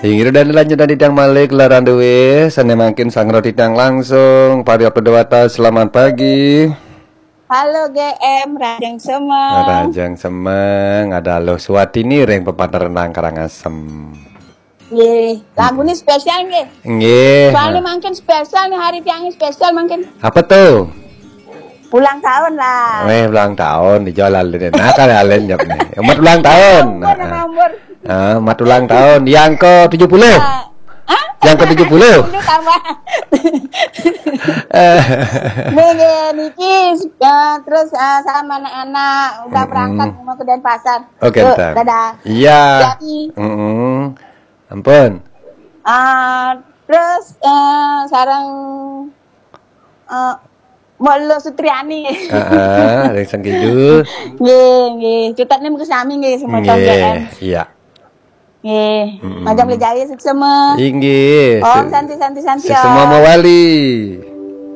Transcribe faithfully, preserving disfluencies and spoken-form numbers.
Inggih, dan lanjut tadi tiang malik, larang duwe, sane mangkin sangro titiang langsung, Paryo Pedewata, selamat pagi. Halo G M, rahajeng semeng. Rahajeng semeng, ada Luh Suwatini ring pepateran Karangasem. Nggih, lagune spesial nggih. Nggih. Soalnya mangkin spesial nih, hari tiang spesial mangkin. Apa tuh? Ulang tahun lah. Eh, ulang tahun di jalan ini. Nah, kan alen jawab nih. Amat ulang tahun. Ampun, ampun. Ah, amat ulang tahun. Yang ke tujuh puluh. Ah, hah? Yang ke tujuh puluh. Itu tambah. Eh. Nih, nih, niki, ya, terus, eh, sama anak-anak udah Mm-mm. berangkat mau ke Denpasar. Oke, Yuk, ntar. Dadah. Iya. Jadi. Mm-mm. Ampun. Ah, terus, eh, sareng, eh, Mbok Luh Sutriani. Heeh, ring Sengkidul. Nggih, nggih. Cutetne mengke sami nggih, semeton Nggih, G M. Iya. Nggih. Mm-mm. Majeng Lejaya suksema. Inggih. Om Santi, Santi, Santi, Suksema Om. Mawali.